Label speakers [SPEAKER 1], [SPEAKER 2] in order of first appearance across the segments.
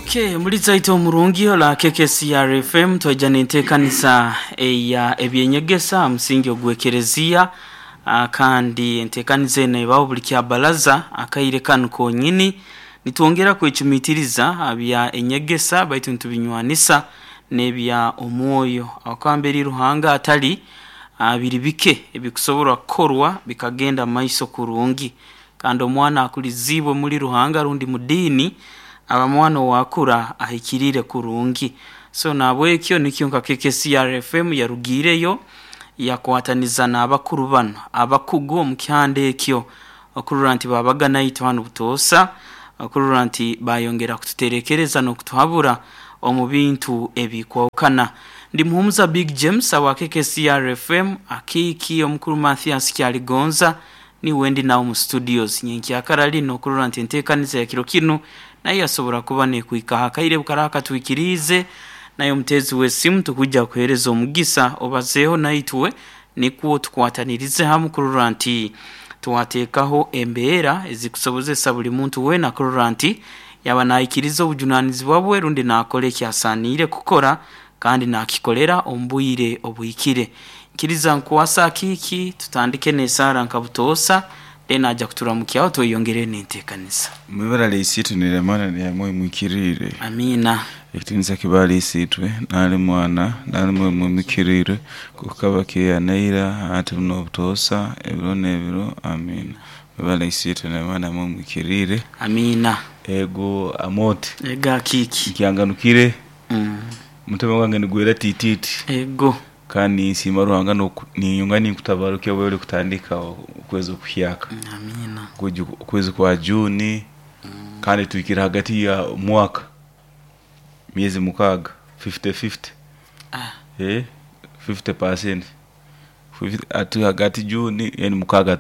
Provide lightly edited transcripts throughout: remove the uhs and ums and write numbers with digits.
[SPEAKER 1] Okay, muri zaito omurungi ola KKCR FM twaija n'enteekanisa eya ebyenyegesa aha musingi ogw'ekereziya ah, kandi enteekaniza eno ebaho buli kyabaraza akaire kanu konyini nitwongera kwecumitiriza aha bya enyegesa baitu nitubinywanisa n'ebya omwoyo ahakuba mberi Ruhanga atari ah, biri bike ebikusoborwa kukorwa bikagenda mumaiso kurungi. Kandi omwana akuliziibwe muli Ruhanga rundi mu diini aba mwana owakura ahikiriire kurungi. So nahabwekyo nikyo nka KKCR FM yarugiireyo yakwataniza n'abakuru banu abakugu omu kihanda ekyo okurora nti babaga naitwe hanu butoosa, okurora nti bayongera kututerekereza n'okutuhabura omu bintu ebikwahukana. Ndi Muhumuza Big James awa KKCR FM, akiiki omukuru Mathias Kyaligonza Niiwe ndi nawe mu studios nyenkyakara lino kurora nti enteekaniza ya kiro kinu nayo yasobora kuba nekwikaho akaire bukaraha katwikiriize. Naye omuteezi w'esimu tukwija kukuheereza omugisa obazeeho naitwe nikwo tukwatanirize hamu kurora nti twateekaho embeera ezikusobozesa buli muntu weena kurora nti yaba naikiriza obujunanizibwa bwe rundi nakora eki asaaniire kukora kandi nakikolera omu bwire obuhikire. Nkiriza nkukwase akiiki tutandike n'esaara nka butoosa, then aja kuturamukyaho tweyongereyo n'enteekaniza.
[SPEAKER 2] Mwibara lya Isiitwe n'erya Mwana n'erya Mwoyo Muhikiriire.
[SPEAKER 1] Amiina.
[SPEAKER 2] Ekitiinisa kibe ahari Isiitwe, n'ahari Mwana, n'ahari Mwoyo Muhikiriire, nk'oku kaba kiri naira, hati n'obutoosa, ebiro n'ebiro. Amiina. Mwibara lya Isiitwe n'erya Mwana na Mwoyo Muhikiriire.
[SPEAKER 1] Amiina.
[SPEAKER 2] Ego Amooti.
[SPEAKER 1] Ego akiiki.
[SPEAKER 2] Nkyanganukire. Omutima gwange nigwera tiitiiti.
[SPEAKER 1] Ego.
[SPEAKER 2] Kandi ninsiima Ruhanga niinyonga ninkutabaruka obu ori kutandika okwezi okuhyaka.
[SPEAKER 1] Amiina.
[SPEAKER 2] Okwezi kwa June kandi tuhikire hagati ya mwaka myezi mukaaga 50-50.
[SPEAKER 1] Ah.
[SPEAKER 2] 50%. Hati hagati June then mukaaga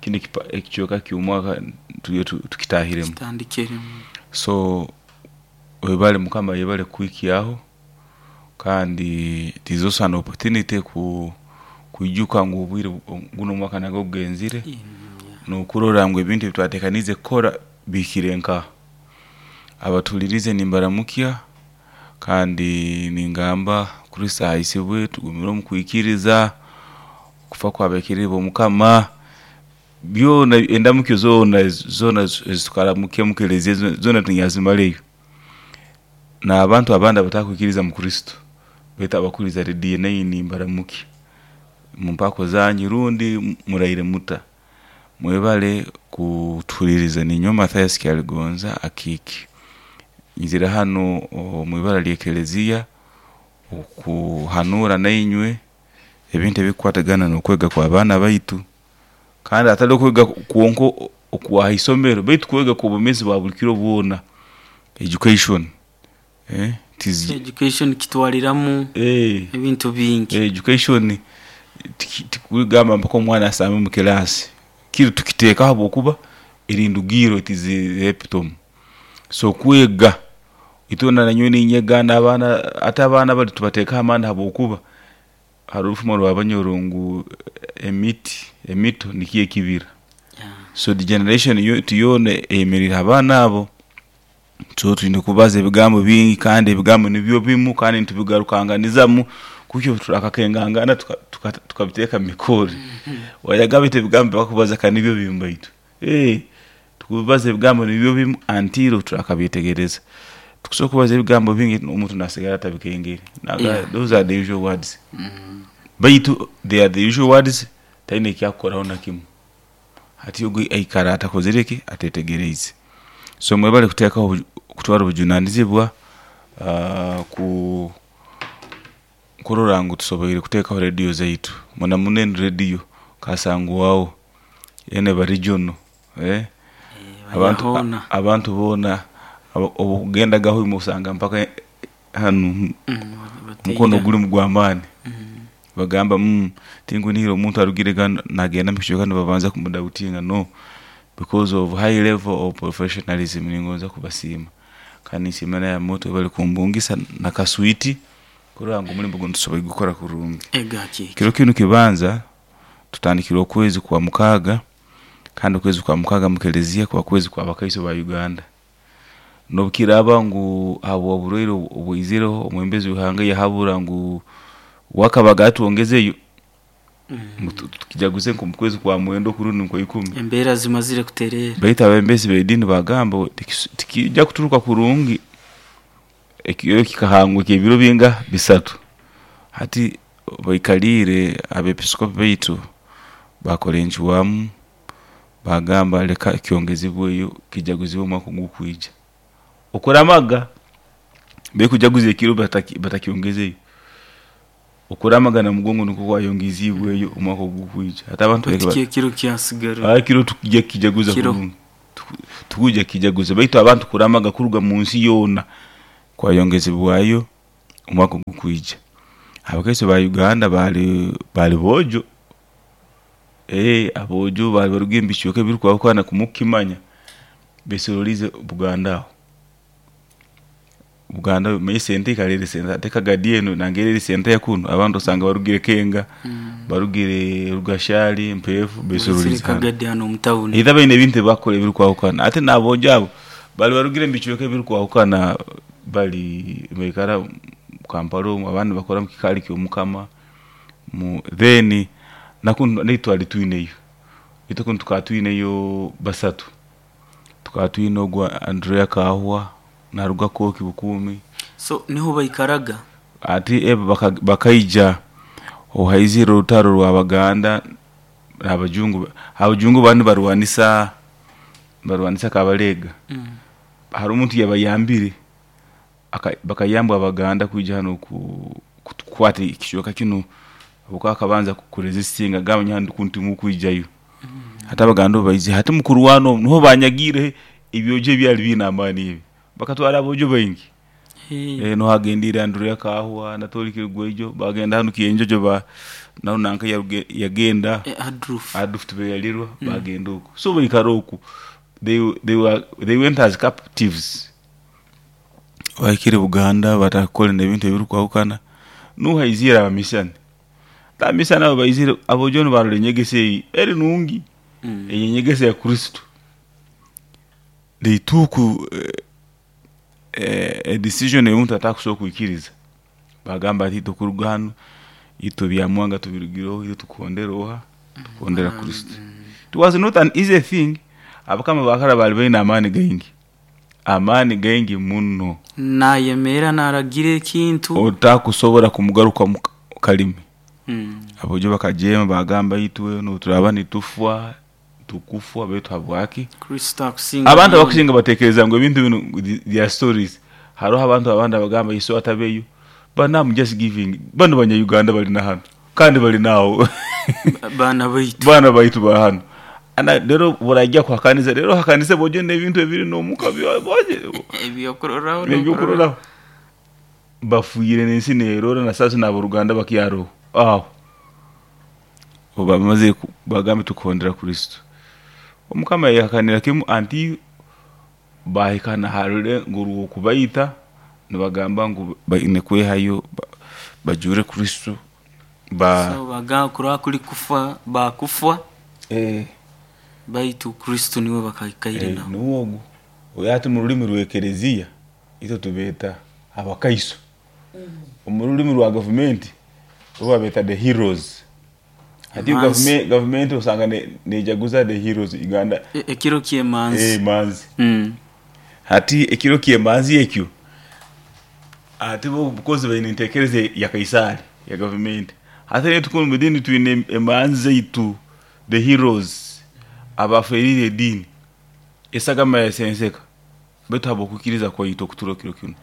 [SPEAKER 2] kinu ekicweka ky'omwaka turiyo tukitahiremu.
[SPEAKER 1] Kitandikiremu.
[SPEAKER 2] So webale mukama yebale kukuhikyaho kandi it is also an opportunity kwijuka ngu obwire guno omwaka nagwo gugenzire nokurora ngu ebintu ebitwatekaniize kukora bihikire nkaha. Abatuhuririize nimbaramukya kandi ningamba Kristo ahaisibwe tugumire omu kwikiriza, okufa kwabekirire Mukama. Byona endamukyo zoona zoona ezitukaramukya omu kelezia zoona tinyazimarayo. N'abantu abandi abatakwikiriza mu Kristo beitu abakuhuriza rediyo nainye nimbaramukya omu mpaako zanyu rundi muraire muta? Mwebale kutuhuririza. Ninyowe Mathias Kyaligonza Akiiki. Nyizire hanu omu ibara ly'ekelezia okuhanuura nainywe ebintu ebikukwatagana n'okwega kw'abaana baitu. Kandi hatari okwega kwonka okwa ha isomero beitu kwega kw'obwomeezi bwa buli kiro bwona, education. It is
[SPEAKER 1] Education kitwariramu ebintu bingi.
[SPEAKER 2] Education tikugamba mpaka omwana asame omu kilaasi, kiri tukiteekaho ahabw'okuba eri ndugiirro it is the epitome. So kwega, itwena nanyowe ninyega n'abaana, hati abaana bari tubateekaho amaani ahabw'okuba Hariho orufumo rwa Banyoro ngu emiti emito nikyo ekibira. So the generation yoona eyemereire ha baana abo. So twine kubaza ebigambo bingi kandi ebigambo nibyo bimu kandi nitubigarukanganizamu kuhikya obu turakakengangana tukabiteeka omu mikoore. Wayagamba oti ebigambo ebi bakubaza ka nibyo bimu baitu. Tukubaza ebigambo nibyo bimu until obu turakabyetegereza. Tikusobola kubaza ebigambo bingi omuntu nasigara atabikengere. Those are the usual words. Baitu they are the usual words taine eki akukoraho na kimu. Hati ogu aikara atakozire ki? Atetegereize. So mwebale kuteekaho kutwara obujunanizibwa ku kurora ngu tusoboire kuteekaho rediyo zaitu. Muna muno enu rediyo kasangwaho yoona eba regional. Abantu boona obu okugendagaho osanga mpaka hanu omukono gurimu gw'amaani. Bagamba tinkunihira omuntu arugire ghano nagenda omu kicweka nibabanza kumudautinga no because of high level of professionalism ningonza kubasiima. Kandi ninsiima na Amooti webale kumbungisa na kaswiti kurora ngu omurimo gunu tusoboire kugukora kurungi. Kiro kinu kibanza tutandikire okwezi kwa mukaaga kandi okwezi kwa mukaaga mu kelezia kuba kwezi kwa bakaiso ba Uganda. N'obukiraaba ngu ahabw'oburwaire obwaizireho, omwebembezi w'eihanga yahabura ngu wakabaga atwongezeyo ngu tukijaguze nk'omu kwezi kwa mwenda oku rundi nkwa ikumi.
[SPEAKER 1] Embeera zimazire kutereera.
[SPEAKER 2] Baitu abebembezi b'ediini baagamba ngu tikiija kuturuka kurungi ekiro kikahangwa eky'ebiro binga? Bisatu. Hati baikaliire abepiskopi baitu baakora encwamu baagamba leka kyongezibweyo kijaguzibwe omwaka ogukwija. Okuramaga barikujaguza ekiro batakyongezeyo. Okuramaga Namugongo nikwo kwayongeziibweyo omwaka ogukwija. Hati abantu
[SPEAKER 1] Baitu
[SPEAKER 2] barikuba
[SPEAKER 1] kyo ekiro kyasigara
[SPEAKER 2] ekiro tukuja kukijaguza
[SPEAKER 1] kiro.
[SPEAKER 2] kurungi. Tukuja kukijaguza baitu abantu kuramaga kuruga mu nsi yoona kwayongezibwayo omwaka ogukwija. Abakaiso ba Uganda bali bali boojo, aboojo bali baruga omu bicweka ebirikwahukana kumukimanya besororiize Buganda aho. Buganda omanye esente ekara eri sente hati Kagadi enu nangwa eri sente ya kunu abandi osanga barugire Kenga, barugire Rugashari, Mpeefu
[SPEAKER 1] Baizire
[SPEAKER 2] besororiize hanu.
[SPEAKER 1] Kagadi hanu omu tawuni.
[SPEAKER 2] Either baine ebintu ebi bakukora ebirikwahukana ate n'aboojo abo bari barugire omu bicweka ebirikwahukana bari nibaikara omu Kampala omu abandi nibakora omu kikaari ky'omukama then nakunu naitwe twari twineyo, itwe kunu tukaba twineyo basatu. Tukaba twine ogu Andrea Kahwa naruga Kooki Bukuumi.
[SPEAKER 1] So niho baikaraga?
[SPEAKER 2] Hati ebo bakaija obu haizire orutaro rw'Abaganda n'Abajungu. Abajungu baba nibarwanisa nibarwanisa Kabalega. Hariho omuntu yabayambire bakayambwa Abaganda kwija hanu kukwata ekicweka kinu habwokuba akabanza kurezisitinga agamba nyowe hanu kunu timukwijayo. Hati Abaganda obu baizire hati omu kurwana omu niho banyagiireho ebyojo ebyali biine amaani ebi. Bakatwara aboojo baingi. Niho hagendiire Andrea Kahwa, Anatoli Kirigweijo, bagenda hanu Kienjojo ba naho nanka yagenda
[SPEAKER 1] Adolf.
[SPEAKER 2] Adolf Tibeyalirwa bagenda oku. So baikara oku. They, they, were, they went as captives. Bahikire Buganda batandika kukora ebintu ebirikwahukana. Nuhu haiziire abamisani. Abamisani abo baizire aboojo nibarora enyegesa eyi eri nungi. Eyo enyegesa ya Kristo. They took a decision ei omuntu atakusobora kwikiriza. Bagamba ati itwe kuruga hanu itwe ebya Mwanga tubirugireho itwe tukuhondera oha? Tukuhondera Kristo. It was not an easy thing. Abakama ba kara bali baine amaani gaingi. Amaani gaingi muno.
[SPEAKER 1] Nayemerra naragira ekintu.
[SPEAKER 2] Otakusobora kumugarukamu kalimi. Aboojo bakajeema bagamba itwe n'obu nitufwa tukufwa baitu habwaki?
[SPEAKER 1] Kristo akusinga.
[SPEAKER 2] Abantu abakusinga batekereza ngu ebintu binu they are stories. Hariho abantu abandi abagamba Yesu atabeyo. But now I'm just giving. Bano banya Uganda bali na hanu. Kandi bali naho.
[SPEAKER 1] Baana baitu.
[SPEAKER 2] Baana baitu ba hanu. Ana rero burajya kuhakanisa rero hakanisa bojo n'ebintu ebiri n'omuka boje.
[SPEAKER 1] Ebyokuroraho.
[SPEAKER 2] Ebyokuroraho. Bafuire n'ensi neerora na sasa n'aboruganda bakyaroho. Aho. Obu bamaze bagambe tukuhondera Kristo. Omukama yahakanira kimu anti bahika na ha rulengo rw'okubaita nibagamba ngu baine kwehayo bajure Kristo ba
[SPEAKER 1] So bagamba kuraba kuri kufa bakufwa baitu Kristo niwe bakaikaire nawe.
[SPEAKER 2] Nuwe ogu. Oyo hati omu rurimi rw'ekereziya itwe tubeeta abakaiso. Omu rurimi rwa gavumenti bo babeeta the heroes. Hati
[SPEAKER 1] Emanzi.
[SPEAKER 2] gavumenti osanga nejaguza the heroes Uganda.
[SPEAKER 1] Ekiro ky'emanzi.
[SPEAKER 2] Emanzi. Hati ekiro ky'emanzi ekyo hati bo because baine entekereza ya Kaisari ya gavumenti. Hati naitwe kunu omu diini twine emanzi zaitu the heroes abaferiire ediini esagama yasenseka baitu habw'okwikiriza kwaitu okutura kiro kinu.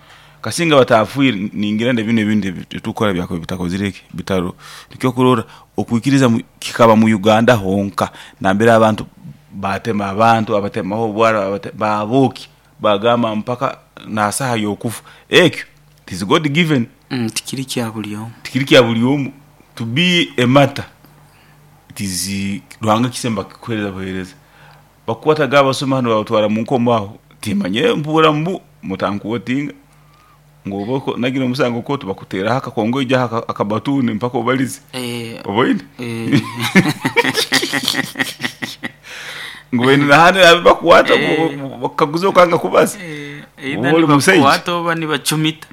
[SPEAKER 2] Kasinga batafiire ningira na binu ebindi ebitukukora byakuba bitakozire ki bitaro. Nikyo okurora okwikiriza kikaba mu Uganda honka nambere abantu batema abantu abatemaho obwara babookya bagamba mpaka nasaha y'okufa. Ekyo it is God given.
[SPEAKER 1] Tikiri kya buri omwe.
[SPEAKER 2] Tikiri kya buri omwe. To be a martyr it is Ruhanga ekisembo akikuhereza buhereza. Bakukwataga abasuma hanu babatwara mu nkomo aho timanyire mpurra mbu mutanquotinga ngu oba onagire omusango kooti bakuteraho akakongoija akabatuni mpaka obalize. Oboine? Ngu baine nahanu abu bakukwata bakakuguza okanga kubaza.
[SPEAKER 1] Either
[SPEAKER 2] Oba oli musaija
[SPEAKER 1] nibakukwata oba nibacumita.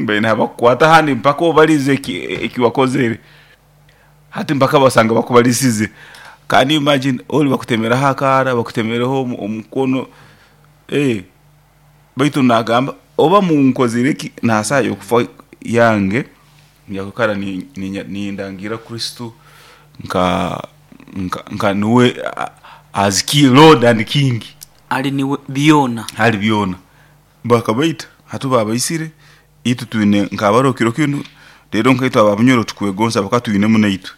[SPEAKER 2] Baine ahabakukwata ahandi mpaka obarize eki wakozere. Hati mpaka basanga bakubarisize. Can you imagine ori bakutemeraho akaara, bakutemereho omukono eh baitu nagamba oba munkozire ki n'aha saaha y'okufa yange nyakwikara nindangiira Kristo nka nka niwe as Lord and King.
[SPEAKER 1] Ali niwe byona.
[SPEAKER 2] Hali byona. Bakabaita, hati baabaitsire, itwe twine nk'abariho kiro kinu, reero nkaitwe aba Bunyoro tukwegonza habwokuba twinemu naitwe,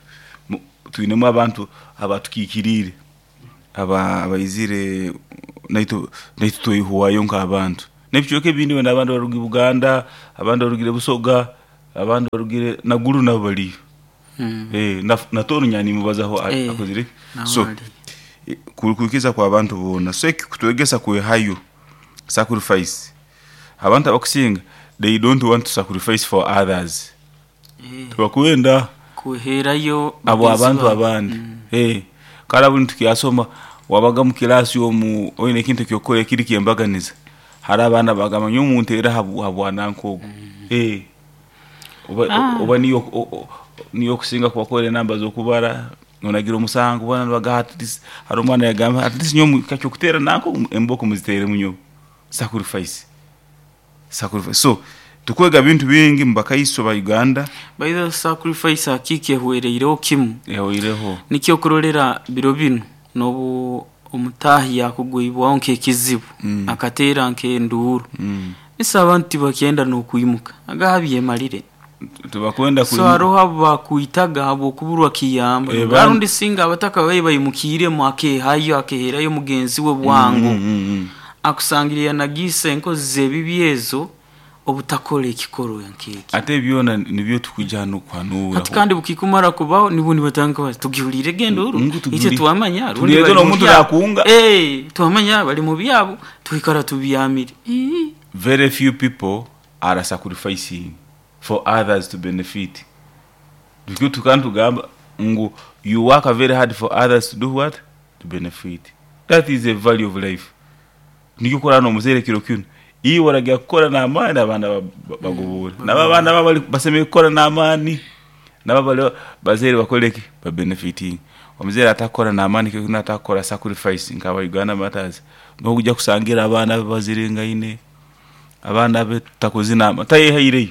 [SPEAKER 2] twinemu abantu abatukiikiriire, abaizire naitwe naitwe twehwayo nk'abantu. N'ebicweka ebindi wena abandi barugire Buganda, abandi barugire Busoga, abandi barugire Naguru nabo bariyo. Na Tooro nyowe nimubazaho akozire ki? So kwikiriza kw'abantu boona. So eki kutwegesa kwehayo, sacrifice. Abantu abakusinga they don't want to sacrifice for others. Tibakwenda
[SPEAKER 1] Kuheerayo
[SPEAKER 2] abo
[SPEAKER 1] bagenzi
[SPEAKER 2] abantu
[SPEAKER 1] baabo.
[SPEAKER 2] abandi. Kare obu nitukyasoma wabaga omu kiraasi omu oine ekintu eki orikukora ekiri ky'embaganiza, hariho abaana abagamba nyowe munteere aha bwa nanka ogu. Oba niiwe okusinga kubakora enamba z'okubara, onagira omusango boona nibagamba at least hariho omwana yagamba at least nyowe kakyokuteera nanka ogu embooko muziteeremu nyowe. Sacrifice, sacrifice. So tukwega bintu bingi omu bakaiso ba Uganda.
[SPEAKER 1] By the way, sacrifice hakiika ehwereireho kimu.
[SPEAKER 2] Ehweireho.
[SPEAKER 1] Nikyo okurorera biro binu n'obu omutaahi yaakugwibwaho nk'ekizibu akateera nk'enduuru, ise abantu tibakyenda n'okwimuka aga byemarire.
[SPEAKER 2] Tibakwenda
[SPEAKER 1] So haroho abu baakwitaga habw'okuburwa kiyamba. Rundi singa abataka babaire baimukiiremu akeehayo akeeherayo mugenzi we bwangu, akusangire yanagiise enkozi z'ebibi ezo obutakora ekikorwa nk'ekyo.
[SPEAKER 2] Ate byona nibyo tukwija hanu kuhanuura.
[SPEAKER 1] Hati kandi bukikumara kubaho nibwo nibatandika bati tugihuriire enduuru
[SPEAKER 2] Ngu
[SPEAKER 1] itwe twamanya rundi
[SPEAKER 2] tulireete
[SPEAKER 1] bari mu
[SPEAKER 2] n'omuntu
[SPEAKER 1] byabo.
[SPEAKER 2] naakunga.
[SPEAKER 1] Twamanya bari mu byabo twikara tubyamire. Ii.
[SPEAKER 2] Very few people are sacrificing for others to benefit. Nikyo tukaba nitugamba ngu you work very hard for others to do what? To benefit. That is the value of life. Nikyo okurora n'omuzaire kiro kinu, iwe oragira kukora n'amaani abaana bagoboore. Nabo abaana baabo basemeriire kukora n'amaani, nabo abari bazaire bakore ki? Babenefitinge. Omuzaire atakukora n'amaani kiro kinu atakukora sacrifice nka aba Uganda Martyrs, noija kusangira abaana be baziringaine, abaana be takozire n'amaani, tayehaireyo,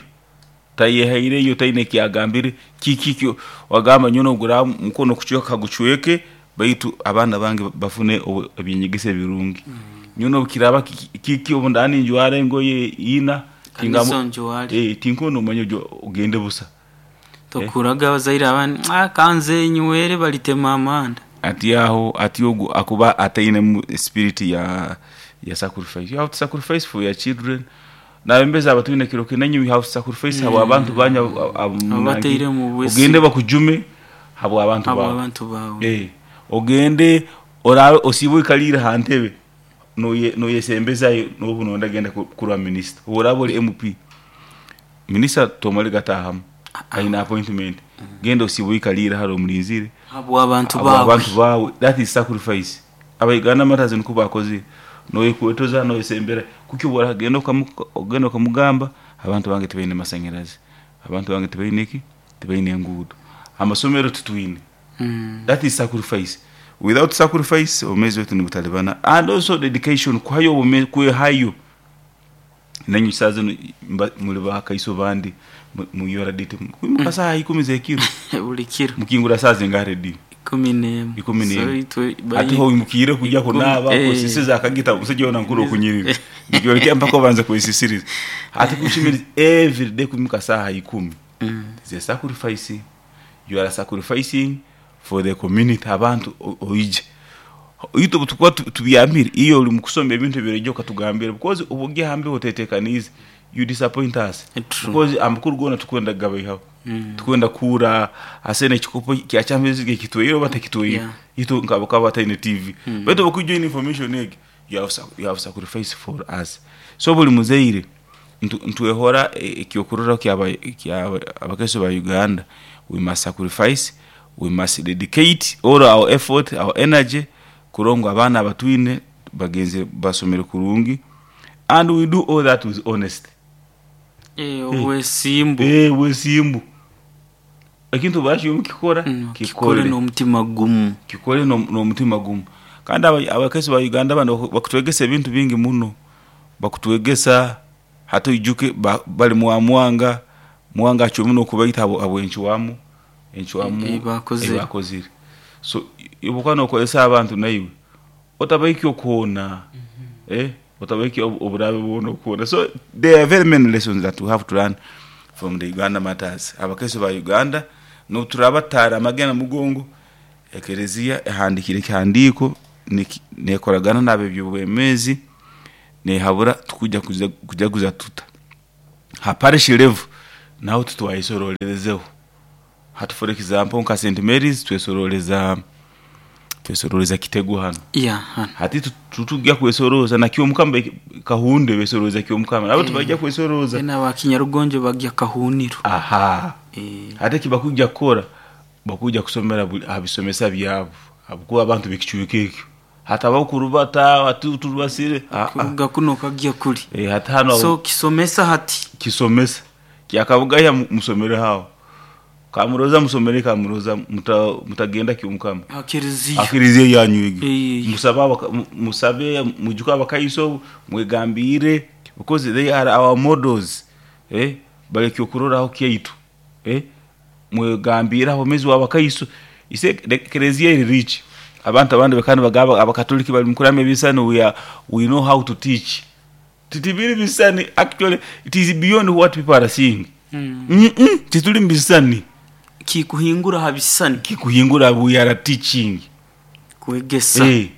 [SPEAKER 2] tayehaireyo taine eki agambire, kiki eki wagamba nyowe n'obu guraaba mukono kucweka kagucweke baitu abaana bange bafune eby'enyegesa ebirungi. Nyowe n'obu kiraaba kiki obu ndaaba ninjwara engoye ina,
[SPEAKER 1] Kanisa onjware.
[SPEAKER 2] tinkwenda omanye ogende busa.
[SPEAKER 1] Tokuraga abazaire abandi, ah, kanze nywere balitema amanda.
[SPEAKER 2] Ati aho ati ogu akuba atainemu spirit ya ya sacrifice. You have to sacrifice for your children. Nabembezi abatwine kiro kinu nainywe you have to sacrifice habw'abantu banyu
[SPEAKER 1] Abataire omu bwesige.
[SPEAKER 2] Ogende bakujume habw'abantu bawe.
[SPEAKER 1] Habw'abantu bawe.
[SPEAKER 2] Ogende oraabe osiibe oikaliire aha ntebe noyesembezayo n'obu noyenda kugenda kurora minisita. Obu oraaba ori MP, minisita tomare gataahamu aine appointment. Genda osiibe oikaliire hare omurinzire
[SPEAKER 1] Habw'abantu bawe.
[SPEAKER 2] habw'abantu bawe. That is sacrifice. Aba Uganda Martyrs nikwo baakozire. Noyekwetoza noyesembera kuki obu oragenda ogenda okamugamba abantu bange tibaine masanyarazi, abantu bange tibaine ki, tibaine enguudo, amasomero titwine. That is sacrifice. Without sacrifice obwomeezi bwaitu nibutalibana. And also dedication, kuhayo obwomeezi, kwehayo. Nainywe saaha zinu muri bakaiso bandi muyora date mukwimuka saaha ikumi z'ekiro.
[SPEAKER 1] Buri kiro.
[SPEAKER 2] Mukingura saaha zingaha rediyo?
[SPEAKER 1] 11.
[SPEAKER 2] 11.
[SPEAKER 1] So itwe
[SPEAKER 2] Hati ho oimukiire kugya kunaaba kwesisiza akagita omusaija yoona nkuru okunyirira. Nikyoreka mpaka obanze kwesisiriza. Hati kushemerize every day kwimuka saaha ikumi. Is a sacrifice. You are sacrificing for the community abantu oije. Itwe obu tukuba tubyamire iwe ori mukusoma ebintu ebiraija okatugambira because obu ori aha mbeho otetekaniize you disappoint us. Because amakuru goona turikwenda kugabaihaho. Turikwenda kuhurra asene ekikopo kya Champions League ekitwaire oba takitwaire. Itwe nk'abakaba bataine TV. Baitu obu orikwija oine information egi you have sacrificed for us. So buri muzaire nitwehora ekyokurorraho ky'abakaiso ba Uganda, we must sacrifice, we must dedicate all our effort, our energy kurora ngu abaana abatwine bagenzire basomere kurungi. And we do all that with honesty.
[SPEAKER 1] Eh, obwesimbu.
[SPEAKER 2] Eh, obwesimbu. Ekintu obu orikukikora,
[SPEAKER 1] Mm, kikore n'omutima gumu.
[SPEAKER 2] Kikore n'omutima gumu. Kandi abakaiso ba Uganda banu bakutwegesa ebintu bingi muno. Bakutwegesa hati oijuke bari mwa Mwanga, Mwanga acwemu n'okubaita habw'encwamu encwamu
[SPEAKER 1] Ei baakozire.
[SPEAKER 2] ei baakozire. So obu okuba nookozesa abantu naiwe otabahikya okuhoona, eh, otabahikya oburabe bwona okuhoona. So there are very many lessons that we have to learn from the Uganda matters. Abakaiso ba Uganda n'obu turaaba tutaramage na mugongo, ekereziya ehandiikire ekihandiiko neekoragana n'ab'eby'obwomeezi neehabura tukuja kujaguza tuta. Ha parish level naho titwayesororezeho. Hati for example nka St Mary's twesororeza twesororeza Kitegu hanu.
[SPEAKER 1] Yeah, hanu.
[SPEAKER 2] Hati titujya kwesorooza na Kyomukama Kahunde besorooza Kyomukama nabo tibajya kwesorooza.
[SPEAKER 1] Then aba Kinyarugonjo bagya Kahuniro.
[SPEAKER 2] Aha.
[SPEAKER 1] Eh.
[SPEAKER 2] Hati eki bakujja kukora bakujja kusomera aha bisomesa byabo ahabw'okuba abantu b'ekicweka ekyo hatabaho kurubata hati turubasire.
[SPEAKER 1] Kuruga kunu okagya kuri.
[SPEAKER 2] Eh, hati hanu
[SPEAKER 1] So kisomesa hati.
[SPEAKER 2] Kisomesa. Kyakabugaya musomere aho. Kamuroza musomere Kamuroza mutagenda Kyomukama.
[SPEAKER 1] Aha kereziya.
[SPEAKER 2] Aha kereziya yanyu egyo.
[SPEAKER 1] Eh.
[SPEAKER 2] Musabe musabe mwijuke abakaiso mwegambiire because they are our models. Eh, bari ekyokuroraho kyaitu. Eh, mwegambiire abomezi w'abakaiso. Ise kereziya eri rich. Abantu abandi bakaba nibagamba abakatoliki bari mukuramya ebisani we are, we know how to teach. Tibiri bisani actually it is beyond what people are seeing.
[SPEAKER 1] Mm.
[SPEAKER 2] Mm-mm, tituri mu bisani.
[SPEAKER 1] Kikuhingura aha bisani.
[SPEAKER 2] Kikuhingura we are teaching.
[SPEAKER 1] Kwegesa.
[SPEAKER 2] Eh,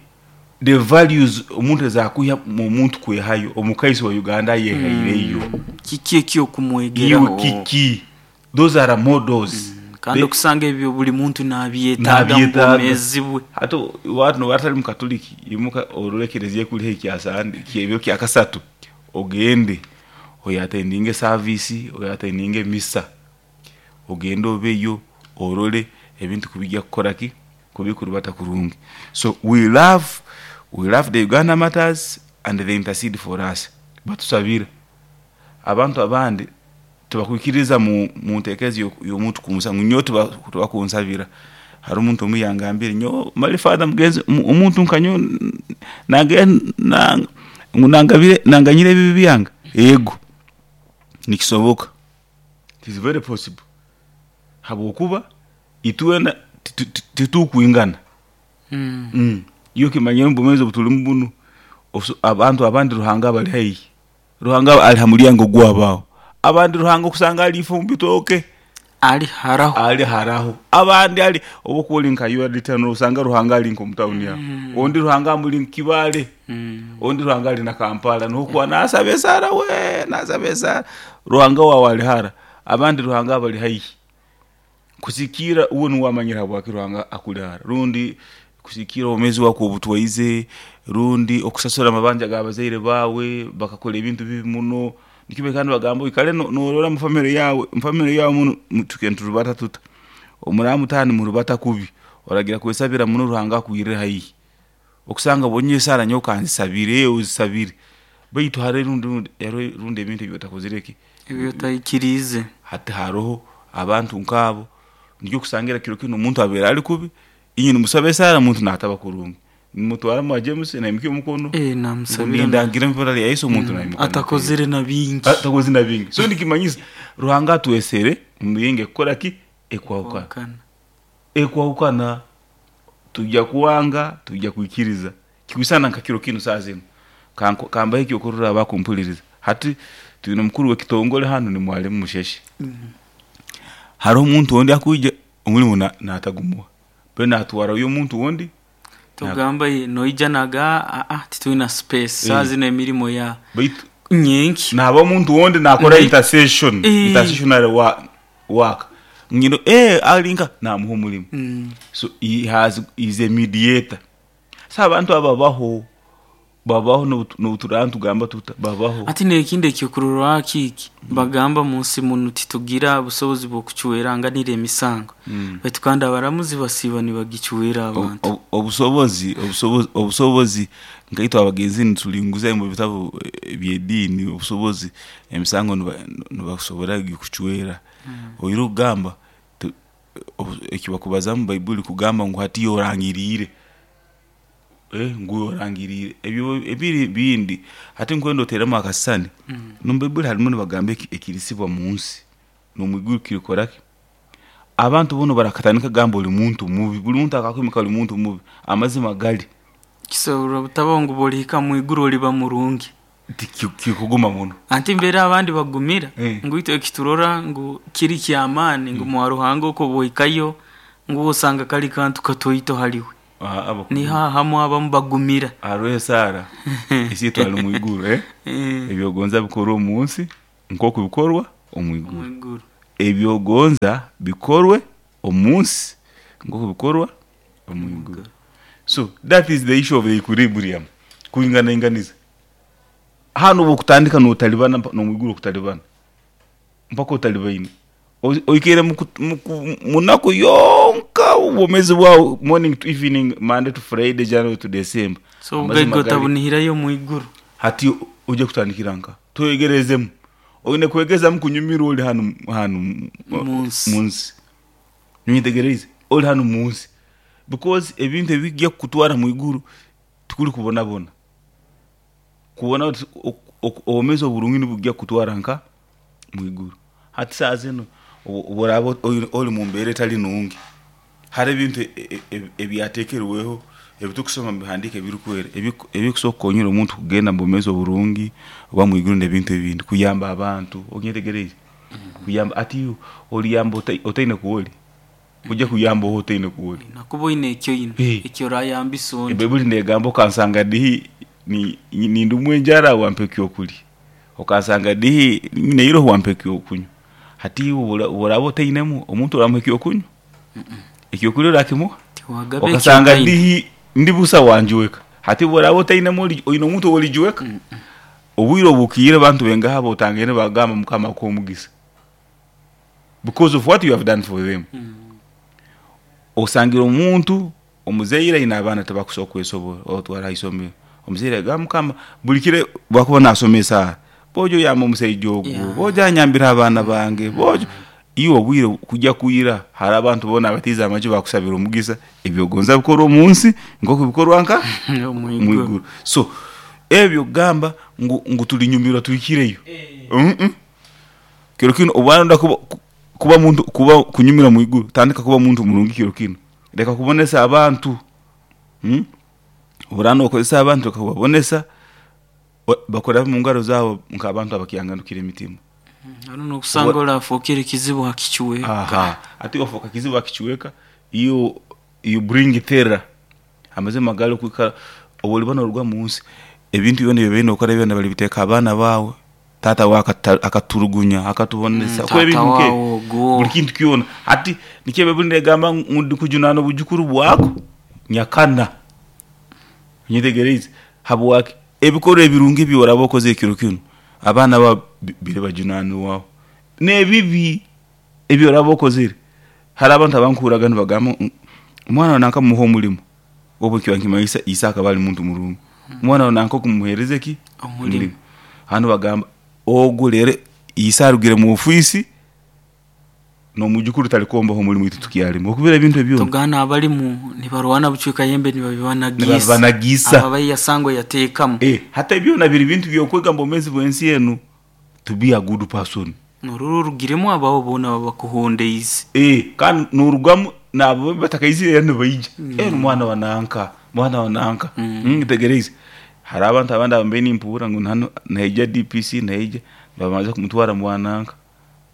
[SPEAKER 2] the values omuntu ezakwiha mu muntu kwehayo omukaiso wa Uganda ayehaireyo.
[SPEAKER 1] Kiki ekyokumwegeraho?
[SPEAKER 2] Iwe kiki? Those are models.
[SPEAKER 1] Kandi okusanga ebyo buri muntu nabyetaaga mu
[SPEAKER 2] Nabyetaaga.
[SPEAKER 1] bwomeezi bwe.
[SPEAKER 2] Hati waaba nooba otari mukatoliki imuka orore ekereziya ekuri haihi kya Sande ebiro kya kasatu ogende oyatendinge esaviisi, oyatendinge emisa. Ogende obeyo orore ebintu ku bijja kukora ki? Ku bikurubata kurungi. So we love, we love the Uganda matters and they intercede for us. Batusabira. Abantu abandi tibakwikiririza mu nteekereza y'omuntu kunsa ngu nyowe tibakunsabira. Hariho omuntu omwe yangambire nyowe mali father mugenzi omuntu nka nyowe ngu nanganyire ebibi byange? Ego, nikisoboka. It is very possible. Habwokuba itwena titukwingana. Iwe okimanyire omu bwomeezi obu turimu bunu, abantu abandi Ruhanga abari haihi. Ruhanga ari ha muryango gwabo aho. Abandi Ruhanga okusanga ari ifo omu bitooke.
[SPEAKER 1] Ari haraho.
[SPEAKER 2] Ari haraho. Abandi ari obu okuba ori nka URD nosanga Ruhanga ari nk'omu tawuni aho. Ondi Ruhanga amuri Kibaale. Ondi Ruhanga ari na Kampala niho okuba naasaba esaara we naasaba esaara. Ruhanga waawe ari hara. Abandi Ruhanga abari haihi. Kusikiira iwe niiwe wamanyire habwaki Ruhanga akuri hara. Rundi kusikiira obwomeezi bwawe oku obutwaize, rundi okusasura amabanja g'abazaire baawe bakakora ebintu bibi muno. Nikyo bakaba nibagamba oikare noorora omu famire yaawe, omu famire yaawe munu tukaire niturubata tuta? Muraba mutaaha nimurubata kubi, oragira kwesabira muno Ruhanga akwirire haihi. Okusanga nyowe esaara nyowe kanzisabire, ozisabire beitu hariho rundi ebintu ebi otakozire ki?
[SPEAKER 1] Ebi otaikiriize.
[SPEAKER 2] Hati hariho abantu nk'abo, nikyo okusangira kiro kinu omuntu abaire ari kubi, inywe nimusaba esaara omuntu naataba kurungi. Nimutwara omwa James naimukya omukono,
[SPEAKER 1] Eh,
[SPEAKER 2] ngu
[SPEAKER 1] namusabira
[SPEAKER 2] nindangira omu ibara rya Yesu omuntu naimuka
[SPEAKER 1] atakozire na bingi.
[SPEAKER 2] Atakozire na bingi. So nikimanyisa Ruhanga atwesere omu miringo ekukora ki? Ekwahukana.
[SPEAKER 1] Kwahukana.
[SPEAKER 2] Ekwahukana. Tujja kwanga, tujja kwikiriza. Kikwisana nka kiro kinu saaha zinu. Kambahe ekyokurorraho abakumpuririza. Hati twine omukuru w'ekitongore hanu ni Mwalimu Musheshe. Hariho omuntu ondi akwija omurimo naatagumuha. Mbwenu naatwarayo omuntu ondi.
[SPEAKER 1] Tugamba noija naga aa titwina space saaha zinu emirimo ya
[SPEAKER 2] Baitu
[SPEAKER 1] nyenki.
[SPEAKER 2] naaba omuntu ondi naakora intercession,
[SPEAKER 1] Eh.
[SPEAKER 2] intercessionary work. Ngira eh ari nka naamuha omurimo.
[SPEAKER 1] Mm.
[SPEAKER 2] So he has, he is a mediator. So abantu abo babaho. Babaho n'obu turaaba nitugamba tuta, babaho.
[SPEAKER 1] Hati n'ekindi ekyokurorwaho kiki, bagamba mu nsi munu titugira busobozi bw'okucweranganira emisango, baitu kandi abaramuzi basiiba nibagicwera abantu.
[SPEAKER 2] Obusobozi, obusobozi nkaitwe abagenzi nitulinguza omu bitabu eby'ediini, obusobozi emisango nibasobora kucwera. Oine okugamba eki bakubaza omu baibuli kugamba ngu hati iwe orangiriire. Ngu orangiriire ebyo ebiri bindi. Hati nkwenda oteeremu akasisani, n'omu baibuli harimu nibagamba ekirisibwa mu nsi n'omu iguru kirikora ki? Abantu boona barakatandika kugamba ori muntu mubi, buri muntu akakwimika ori muntu mubi, amazima gari.
[SPEAKER 1] Kisobora obutabaho ngu bw'olihika mu iguru oliba murungi.
[SPEAKER 2] Tikikuguma muno.
[SPEAKER 1] Anti mbere abandi bagumira ngu itwe ekiturora ngu kiri ky'amaani ngu mwa Ruhanga oku obu ohikayo ngu osanga kali kantu katoito haliwe. Niho ahamu abamu bagumira.
[SPEAKER 2] Hariho esaara Isiitwe ali omu iguru, Ebi ogonza bikorwe omu nsi nk'oku bikorwa omu iguru. Ebi ogonza bikorwe omu nsi nk'oku bikorwa omu iguru. So that is the issue of the equilibrium, kwinganainganiza. Hanu obu okutandika notalibana n'omu iguru okutalibana mpaka otalibaine. Oikaire munaku yonka obwomeezi bwawe morning to evening, Monday to Friday, January to December.
[SPEAKER 1] So obugaiga otabunihirayo omu iguru.
[SPEAKER 2] Hati oija kutandikira nkaha? Twegerezemu. Oine kwegezamu kunyumirwa ori hanu hanu munsi. Onyetegereize? Ori hanu munsi. Because ebintu ebija kukutwara omu iguru tikuri kubonabona. Kubona obwomeezi oburungi nibwija kukutwara nka omu iguru. Hati saaha zinu obu oraaba ori omu mbeera etari nungi, hariho ebintu ebyateekerweho ebi turikusoma omu bihandiiko ebirikwera ebirikusobola kukonyera omuntu kugenda omu bwomeezi oburungi oba omu iguru n'ebintu ebindi, kuyamba abantu, onyetegereize? Kuyamba hati iwe oriyamba otaine ku ori? Oija kuyamba oha otaine ku ori?
[SPEAKER 1] Oine kuba oine eki oine eki orayambisa ondi.
[SPEAKER 2] Ebaibuli neegamba okansanga dihi nindumwa enjara wampa ekyokurya, okansanga dihi nyine eiroho wampa ekyokunywa. Hati iwe obu oraaba otainemu, omuntu oramuha ekyokunywa? Ekyokurya orakimuha?
[SPEAKER 1] Tiwagaba eki
[SPEAKER 2] Okasanga
[SPEAKER 1] otaine.
[SPEAKER 2] dihi ndi busa wanjweka. Hati obu oraaba otainemu oine omuntu ou orijweka? Obwire obukiire abantu baingaha abu otangaine bagamba Mukama akuhe omugisa because of what you have done for them. Osangire omuntu omuzaire aine abaana tibakusobola kwesobora obatwara ha isomero, omuzaire agamba Mukama buri kiro obu akuba nasoma esaara, bojo yamba omusaija ogu, bojo anyambire abaana bange, bojo iwe obwire kujya kwira hariho abantu boona abatiize amaju bakusabira omugisa ebi ogonza bikorwe omu nsi nk'oku bikorwa nka
[SPEAKER 1] Omu
[SPEAKER 2] omu
[SPEAKER 1] iguru.
[SPEAKER 2] iguru. So ebyo kugamba ngu turinyumirwa tuhikireyo, kiro kinu obu waronda kuba muntu kuba kunyumira omu iguru, tandika kuba muntu murungi kiro kinu. Leka kubonesa abantu, obu oraaba nookozesa abantu leka kubabonesa, bakurabe omu ngaro zaawe nk'abantu abakyanganukire emitima.
[SPEAKER 1] Hariho n'okusanga orafookere kizibu ha kicweka.
[SPEAKER 2] Aha, hati wafooka kizibu ha kicweka, you you bring terror. Amazima gali okwikara obu oriba nooruga omu nsi, ebintu byona ebi obaire nookora byona baribiteeka aha baana baawe. Taata waawe akaturugunya, akatubonesa,
[SPEAKER 1] Taata
[SPEAKER 2] ebintu
[SPEAKER 1] waawe
[SPEAKER 2] nk'ebyo,
[SPEAKER 1] ogwo.
[SPEAKER 2] buri kintu kyona. Hati nikyo Baibuli neegamba ngu ndikujunaana obujukuru bwako nyakana. Onyetegereize? Habwaki? Ebikorwa ebirungi ebi oraabe okozire kiro kinu, abaana baawe biribajunaanirwaho. N'ebibi ebi oraabe okozire, hariho abantu abankuhurraga nibagamba ngu omwana waawe nanka mumuhe omurimo, obu nikiba nikimanyisa ise akaba ari muntu murungi. Omwana waawe nanka okumuheereza ki?
[SPEAKER 1] Omurimo.
[SPEAKER 2] Hanu bagamba ogu reero ise arugire omu ofiisi, n'omwijukuru tarikombaho omurimo itwe tukyarimu. Okubira ebintu ebi byona.
[SPEAKER 1] Tugana abarimu nibarwana bucweka yembe nibabibanagiisa.
[SPEAKER 2] Nibabibanagiisa.
[SPEAKER 1] Abo abaiyasangwa yateekamu.
[SPEAKER 2] Hati ebi byona biri bintu by'okwega omu bwomeezi bw'ensi enu to be a good person.
[SPEAKER 1] Norora orugiremu abaabo boona ababakuhondeize.
[SPEAKER 2] Kandi norugamu naabo batakaizire era nibaija. Mwana wa nanka, mwana wa nanka. Ntegereize. Hariho abantu abandi abu mbaire nimpuurira ngu hanu nihaija DPC nihaija, nibabanza kumutwara mwa nanka.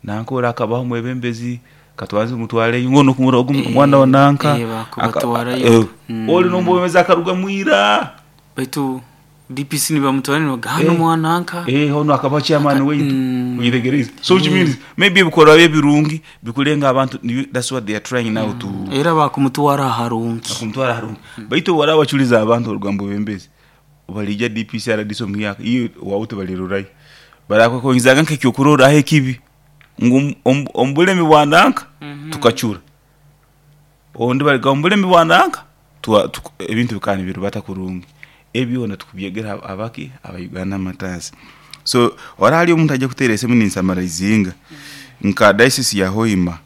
[SPEAKER 2] Nanka ori akabaho omwebembezi, katubanze tumutwareyo ngu onu okumurora ogu mwana wa nanka.
[SPEAKER 1] Bakubatwarayo.
[SPEAKER 2] Ori n'omwebembezi akarugamu ira.
[SPEAKER 1] Baitu DPC nibamutwara nibagamba hanu mwa nanka.
[SPEAKER 2] Onu akabaho chairman waitu. Oyetegereize? So which means maybe ebikorwa bye ebirungi bikurenga abantu that's what they are trying now to.
[SPEAKER 1] Era bakumutwara aharungi.
[SPEAKER 2] Bakumutwara aharungi. Baitu obu oraaba wacurize abantu oruga omu bwebembezi. bariija DPC RDC omuhyaka iwe owaawe tibarirorayo. Barakwekongyezaga nk'ekyokurorraho ekibi ngu omu bulemi bwa nanka tukacura, ondi bariga omu bulemi bwa nanka ebintu bikaba nibirubata kurungi. Ebi byona tukubyegera abaki aba Uganda Martyrs. So hariho hariyo omuntu aija kuteera esimu ninsamaraizinga nka diocese ya Hoima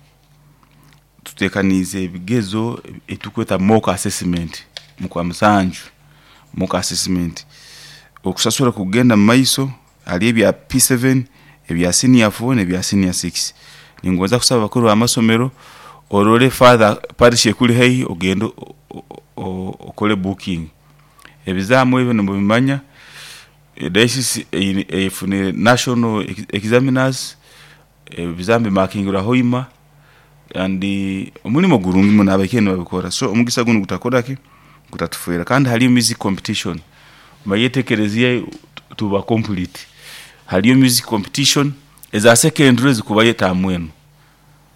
[SPEAKER 2] tuteekaniize ebigezo ebiturikweta mock assessment omu Kwamusanju, mock assessment. Okusasura kugenda omu maiso hariyo ebya P7, ebya senior four n'ebya senior six. Ningonza kusaba abakuru b'amasomero orore father parish ekuri haihi ogende okore booking. Ebizaamu ebyo nimubimanya, diocese efunire national examiners, ebizaamu bimaakingirwe Hoima and omurimo gurungi muno abaikaire nibabikora so omugisa gunu gutakora ki, gutatufeera. Kandi hariyo music competition, omanyire itwe ekereziya tuba complete, hariyo music competition eza secondary zikubayo etaamu enu,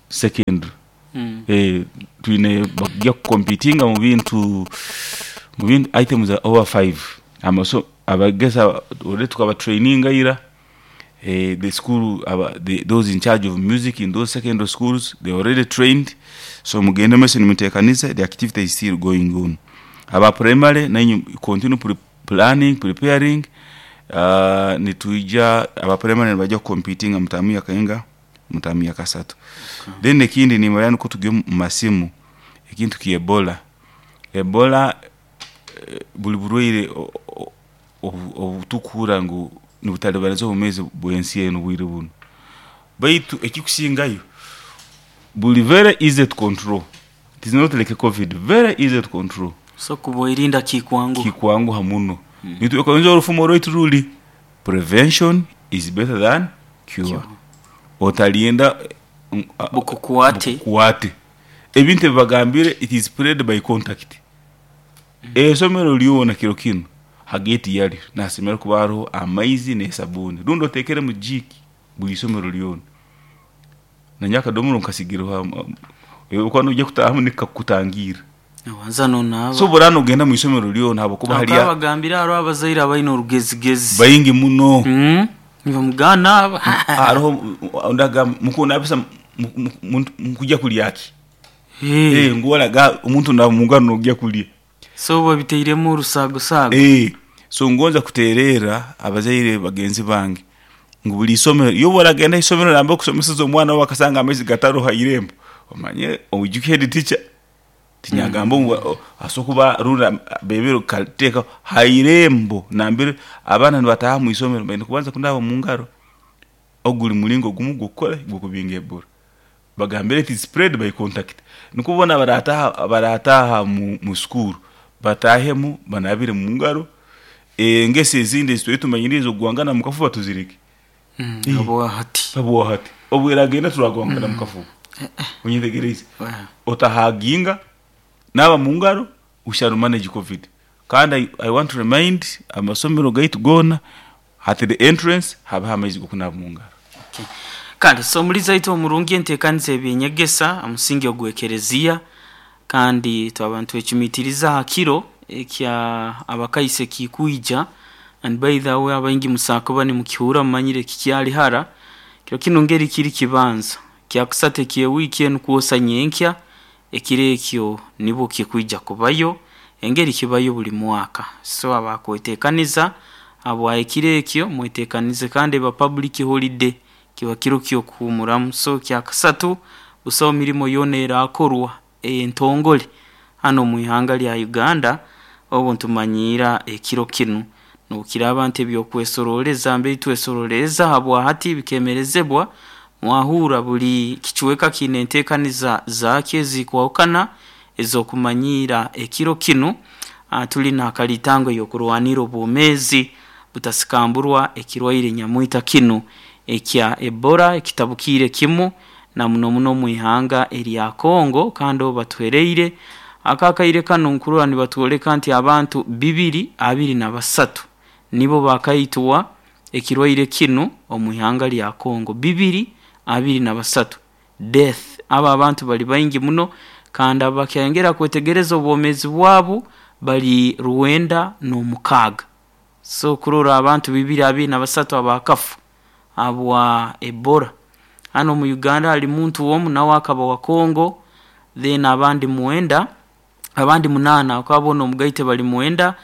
[SPEAKER 2] secondary twine bakugya kukompitinga omu bintu items over five, abegesa already tukabatraininga ira, the school those in charge of music in those secondary schools they are already trained, so mugende omu maiso nimuteekaniza the activity is still going on. Aba primary nainywe continue planning, preparing, nitwija aba primary nibaija kukompitinga mutaamu yakainga, mutaamu yakasatu. Then ekindi nimanya nikwo turi omu masimu, ekintu kya Ebola, Ebola buri burwaire obu turikuhurira ngu nibutaribaniza obwomeezi bw'ensi enu obwire bunu. Baitu ekirikusingayo buri very easy to control, it is not like covid, very easy to control.
[SPEAKER 1] So kubwerinda kikwanguha.
[SPEAKER 2] Kikwanguha muno. Itwe orufumo rwaitu ruri prevention is better than cure. Otarinda
[SPEAKER 1] Bukukwate.
[SPEAKER 2] bukukwate. Ebintu ebi bagambire it is spread by contact. Eisomero ryona kiro kinu ha geeti yaryo nihasemeriire kuba hariho amaizi n'esabuuni rundi oteekeremu jiiki buri isomero ryona. Nanye akadomora nkasigireho obu noija kutaahamu nikakutangiira.
[SPEAKER 1] Obanza nonaaba.
[SPEAKER 2] So obu oraaba nogenda omu isomero ryona habwokuba
[SPEAKER 1] Bakaba
[SPEAKER 2] hariyo
[SPEAKER 1] bagambire hariho abazaire abaine orugezigezi.
[SPEAKER 2] baingi muno.
[SPEAKER 1] Nibamugamba naaba.
[SPEAKER 2] Hariho ondi agamba mukunabisa mukujya kurya ki? Ngu oraga omuntu naaba mungaro nogya kurya.
[SPEAKER 1] So babiteiremu orusagosaago.
[SPEAKER 2] So ngonza kuteererra abazaire bagenzi bange ngu buri isomero, iwe obu oragenda aha isomero nambere orikusomeseza omwana waawe akasanga amaizi gatariho ha irembo, omanye oijuke head teacher tinyagamba ngu asobola kuba rundi beebire kukateekaho ha irembo nambere abaana nibataaha omu isomero baine kubanza kunaaba omu ngaro. Ogu guri muringo gumwe gw'okukora ki? Gw'okubinga Ebola. Bagambire it is spread by contact. Nikwo boona abarataaha omu sukuuru bataahemu banaabire omu ngaro, engeso ezindi ezi twine tumanyire ez'okugwangana omu kafuba tuzireke.
[SPEAKER 1] Habwahati.
[SPEAKER 2] Habwahati. Obu eragenda turagwangana omu kafuba. Onyetegereize? Otahaginga, naaba omu ngaro, we shall manage covid. Kandi I want to remind amasomero gaitu goona at the entrance habeho amaizi g'okunaaba omu ngaro.
[SPEAKER 1] Kale, so omuri zaitu omurungi enteekaniza y'eby'enyegesa aha musingi ogw'ekereziya kandi twaba nitwecumitiriza aha kiro ekya abakaisi ekikwija and by the way abaingi musobola kuba nimukihuura mumanyire kikyari hara, kiro kinu ngeri kiri kibanza kyakusatu eky'ewiiki enu kwosa nyenkya, ekiro ekyo nibwo kikwija kubayo engeri kibayo buri mwaka. So abakwetekaniza habwa ekiro ekyo mwetekanize kandi eba public holiday kiba kiro ky'okuhuumuramu. So kyakasatu busaho mirimo yoona erakorwa ey'entongole hanu omu ihanga lya Uganda obu nitumanyiira ekiro kinu. N'obukiraaba nti eby'okwesorooleza mbere twesorooleza habwahati bikemerezebwa, mwahurra buri kicweka kiine enteekaniza zaakyo ezikwahukana ez'okumanyiira ekiro kinu. Tuli n'akalitango ey'okurwanirra obwomeezi butasikamburwa ekirwaire nyamwita kinu ekya Ebola ekitabukiire kimu na muno muno omu ihanga erya Congo kandi obu batuhereire aka akaire kanu nkurora nibatwoleka nti abantu 223 nibo bakaitwa ekirwaire kinu omu ihanga lya Congo. 223 death. Abo abantu bari baingi muno kandi abakyayongera kwetegereza obwomeezi bwabo bari 96. So kurora abantu bibiri 23 abakafa habwa Ebola. Hanu omu Uganda hali muntu omu nawe akaba wa Congo, then abandi mwenda, abandi munaana bakaba boona omugaite bali mwenda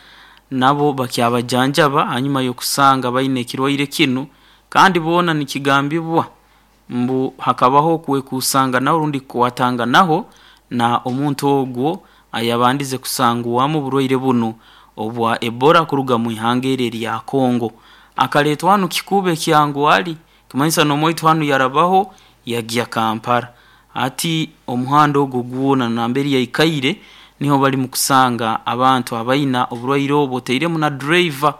[SPEAKER 1] nabo bakyabajanjaba hanyuma y'okusanga baine ekirwaire kinu kandi boona nikigambibwa mbu hakabaho okwekusanganaho rundi kukwatanganaho na omuntu ogwo ayabandize kusangwamu oburwaire bunu obwa Ebola kuruga mu ihanga eri erya Congo. Akaletwa hanu kikuubo ekyangwali kumanyisa n'omwaitu hanu yarabaho yagya Kampala. Hati omuhanda ogwo gwona nambere yaikaire niho balimu kusanga abantu abaina oburwaire obu otairemu na driver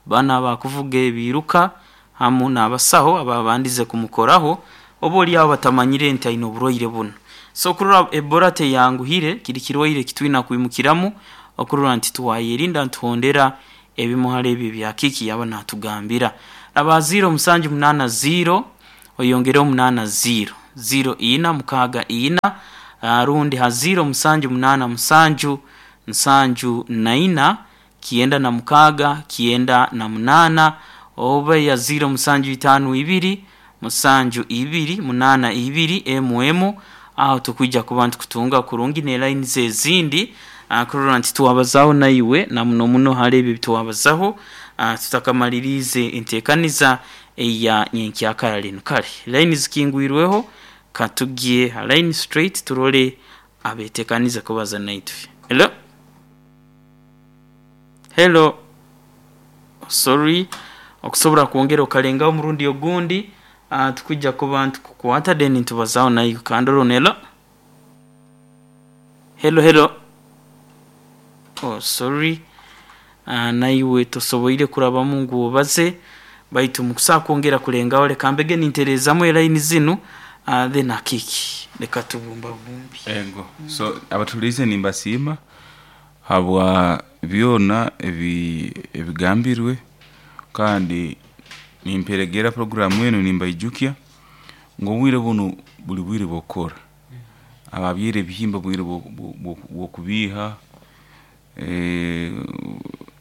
[SPEAKER 1] banu abakuvuga ebiiruka hamu n'abasaho ababandize kumukoraho oba oli aho batamanyire nti aine oburwaire bunu. So kurora Ebola teyanguhire kiri kirwaire ekitwina kwimukiramu okurora nti twayerinda nituhondera ebimu hali ebi ebya Kiki yaba natugambira. Raba 0 7 8 0 oyongereho 8 0 0 4 6 4 rundi ha 0 7 8 7 7 4 96 98 oba ya 0 7 5 2 7 2 8 2 mm aho tukwija kuba nitukutunga kurungi ne line ezindi kurora nti twabazaho naiwe na muno muno hali ebi ebitwabazaho tutakamaliriize enteekaniza eya nyenkyakara linu. Kale line zikingwirweho katugye ha line straight turole abetekanize kubaza naitwe. Hello? Hello? Sorry, okusobora kwongera okalengaho omurundi ogundi tukwija kuba nitukukwata then nitubazaho naiwe. Kandorone hello? Hello hello? Oh sorry, naiwe tosoboire kurabamu ngu obaze baitu mukusobola kwongera kulengaho leka mbege nintereezamu elaini zinu then akiki leka tubumbabumbi.
[SPEAKER 2] Ego. So abatuliize nimbasiima habwa byona ebi ebigambirwe kandi nimperegera programu enu nimbaijukya ngu obwire bunu buli bwire bw'okukora. Ababyaire ebihimba bwire bw'okubiiha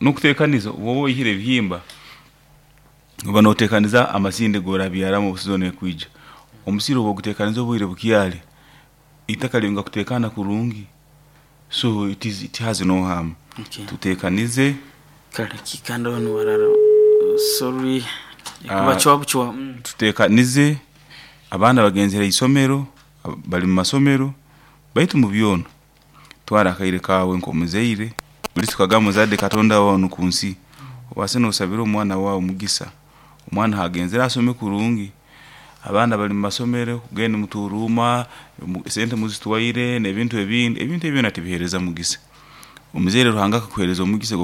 [SPEAKER 2] n'okuteekaniza obu oihire ebihimba oba nooteekaniza amasinde ag'orabyaramu obu sizoni ekwija. Omusiri obu oguteekaniza obwire bukyali, itaka lyonka kuteekana kurungi so it is it has no harm.
[SPEAKER 1] Okay.
[SPEAKER 2] Tuteekanize
[SPEAKER 1] Kale kikandorone warara sorry ekuba bucwa.
[SPEAKER 2] Tuteekanize abaana bagenzere isomero bali mu masomero baitu mu byona twara akaire kaawe nk'omuzaire buli tukagamba muzadde Katonda wanu ku nsi obaase noosabira omwana waawe omugisa omwana hagenzere asome kurungi abaana bali mu masomero kugenda muturuuma sente muzitwaire n'ebintu ebindi ebintu ebi byona tibiheereza mugisa. Omuzaire Ruhanga akakuheereza omugisa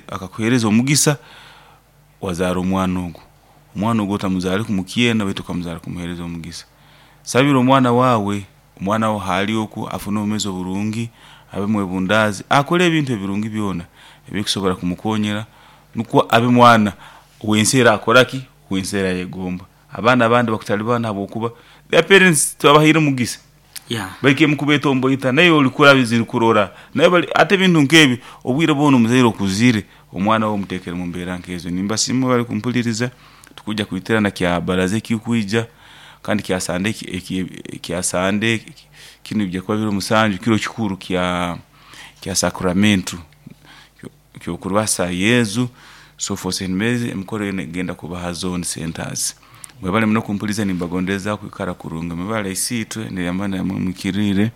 [SPEAKER 2] akakuheereza omugisa wazaara omwana ogu. Omwana ogu otamuzaare kumukyena baitu okamuzaara kumuheereza omugisa. Sabira omwana waawe, omwana waawe haali oku afune obwomeezi oburungi, abe mwebundaazi, akole ebintu ebirungi byona ebikusobora kumukonyera nukwo abe mwana ow'ensi eraakora ki, ow'ensi erayegomba. Abaana abandi bakutalibana habwokuba their parents tibabahaire mugisa. Baikaire mukubetomboita naiwe olikura zirikurora nawe bali ate ebintu nk'ebi obwire bwona omuzaire okuzire omwana we omuteekere mu mbeera nk'ezo. Nimbasiima bali kumpuliriza tukwija kwiterana kya baraza ekikwija kandi kya Sande kya Sande kinu bijja kuba biro musanju kiro kikuru kya kya sacramento ky'okurwasa Yezu so for St Mary's emikoro yoona egenda kuba ha zone centers. Mwebale muno kumpuliriza nimbagondeza kwikara kurungi. Mwebale Isiitwe neyamani namwe mwikiriire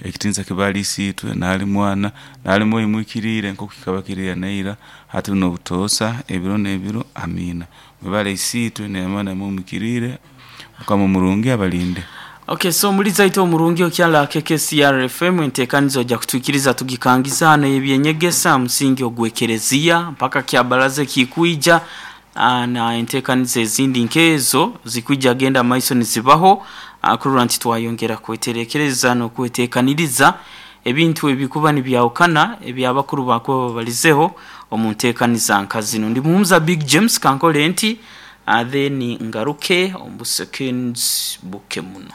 [SPEAKER 2] ekitiinisa kibe hali Isiitwe n'ahali Mwana n'ahali Mwoyo mwikiriire nk'oku kikaba kiri ira naira hati n'obutoosa ebiro n'ebiro. Amiina. Mwebale Isiitwe neyamani namwe mwikiriire Mukama omurungi abalinde.
[SPEAKER 1] Okay, so omulizi aite omurungi okyala KKCR FM entekaniza ojja kutwikiriza tugikangiza hano ebyenyegesa musingi ogw'ekereziya mpaka kyabaraza ekikwija na entekaniza ezindi nkezo zikwija genda maiso nizibaho kurora nti twayongera kweterekereza n'okwetekaniriza ebintu ebikuba nibyahukana ebyabakuru bakuba babalizeho omu ntekaniza nka zinu. Ndi Muhumuza Big James kankole nti then ngaruke omu seconds buke muno.